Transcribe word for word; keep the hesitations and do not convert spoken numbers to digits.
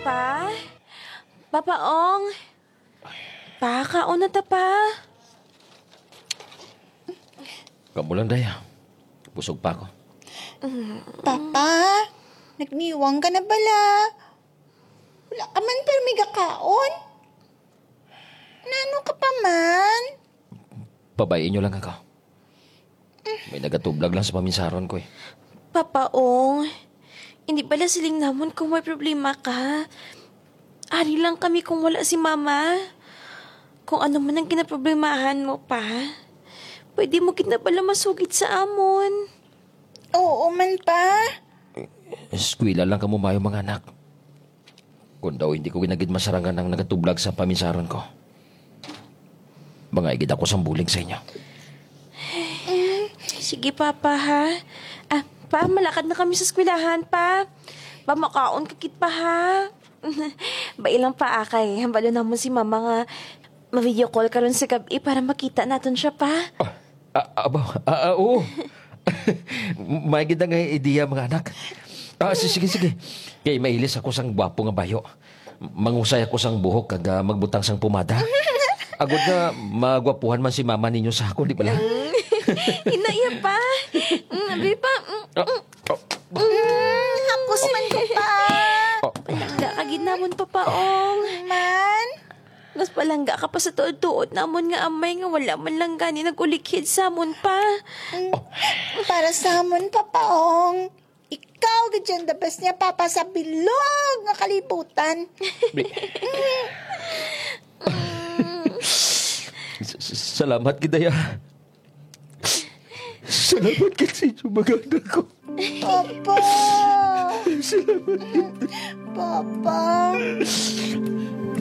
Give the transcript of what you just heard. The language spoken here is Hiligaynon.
Pa? Papa Ong? Pa, kaon na ta, Pa. Kamo lang, Day, ah. Busog pa ako. Papa, nagniwang ka na bala? Wala ka man pirmi gakaon? Nano ka pa man? Pabay-i nyo lang ako. May nagatublag lang sa paminsaron ko, eh. Papa Ong, hindi bala siling namon kung may problema ka. Ari lang kami kung wala si Mama. Kung ano man ang kinaproblemahan mo, Pa, pwede mo gid na bala masugid sa amon. Oo man, Pa. Eskwela lang kamo maayo, mga anak. Kung daw hindi ko ginagid masarangan ang nagatublag sa paminsaron ko, mga igid ako sang bulig sa inyo. Sige, Papa, ha? Ah, Pa, malakad na kami sa eskwelahan, Pa. Pa, makaon ka gid, Pa, ha? Bai lang, Pa, ah, kay hambalo namon si Mama nga ma-video call karon sa gab-i para makita naton siya, Pa. Ah, ah, aba, ah, ah, oo. May gid nga ideya, mga anak. Ah, si-, sige, sige. Kay mailis ako sang gwapo nga bayo. Mangusay ako sang buhok kag, ah, magbutang sang pomada. Agod nga magwapuhan man si mama ninyo sa ako, di bala? Inaya, Pa. Mm, abi, Pa. Mm, Ah, mm. Mm, hapos man ko, Pa. Palangga ka gid namon, Papa Ong. Man? Mas palangga ka pa sa tuod-tuod namon nga amay nga wala man lang gani nag-ulikhid sa amon, Pa. Mm, para sa amon, Papa Ong. Ikaw gid ang the best niya, Papa, sa bilog nga kalibutan. Bi- S-, s-, salamat gid, Day, ah. Salamat gid sa inyo, mga anak ko. Papa! Salamat gid. Papa!